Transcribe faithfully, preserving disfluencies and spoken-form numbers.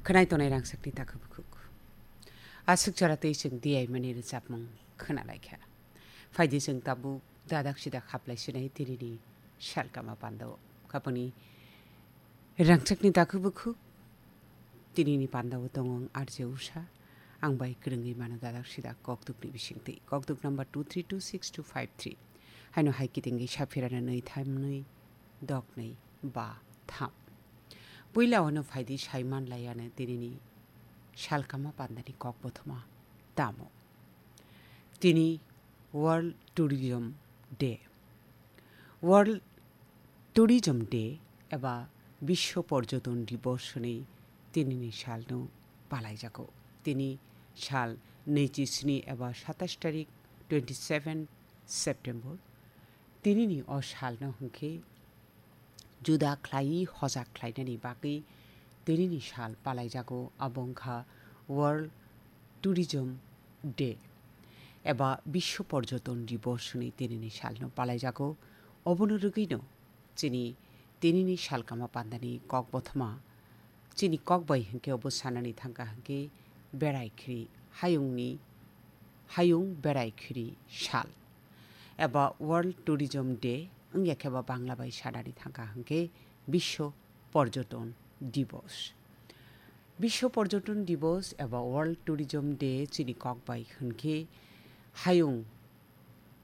Khwnai tongnai rangchakni takhuk bukhuk. Aswk jora tei chwng diyaimani rwchapmung khwnalaikha. Phaidi chwng tabuk dadak sidak haplai sinai tinini salkama pandao. Khapangni rangchakni takhuk bukhuk tinini pandao tongo ang R J Usha. Ang bai kwrwngwi mano dadak sidak kokdukni bisingtwi. Kokduk number two three two six two five three. Haino hai kitingwi saphirana nwi thamnwi doknwi ba tham. Puila ono phaidi saiman layano tinini salkama pandani kok bothoma tamo. Tini World Tourism Day. World Tourism Day eba Bisho Porjoton Dibos hwnwi tinini salno palaijago. Tini sal naichi sni eba satais tarik, twenty seven September. Tinini o salno hwnkhe juda khlaiwi hojak khlainani bagwi tinini sal palaijago, abo wngkha World Tourism Day eba Bisho Porjoton Dibos hwnwi tinini salno palaijago. Obono rwgwino chini tinini salkama pandani kok bothoma chini kok bai hwnkhe obo sanani thangkha hwnkhe berai khiri hayungni, hayung berai khiri sal eba World Tourism Day wngya khe ba Bangla bai sanani thangkha hwnkhe Bisho Porjoton Dibos. Bisho Porjoton Dibos eba World Tourism Day chini kok bai hwnkhe hayung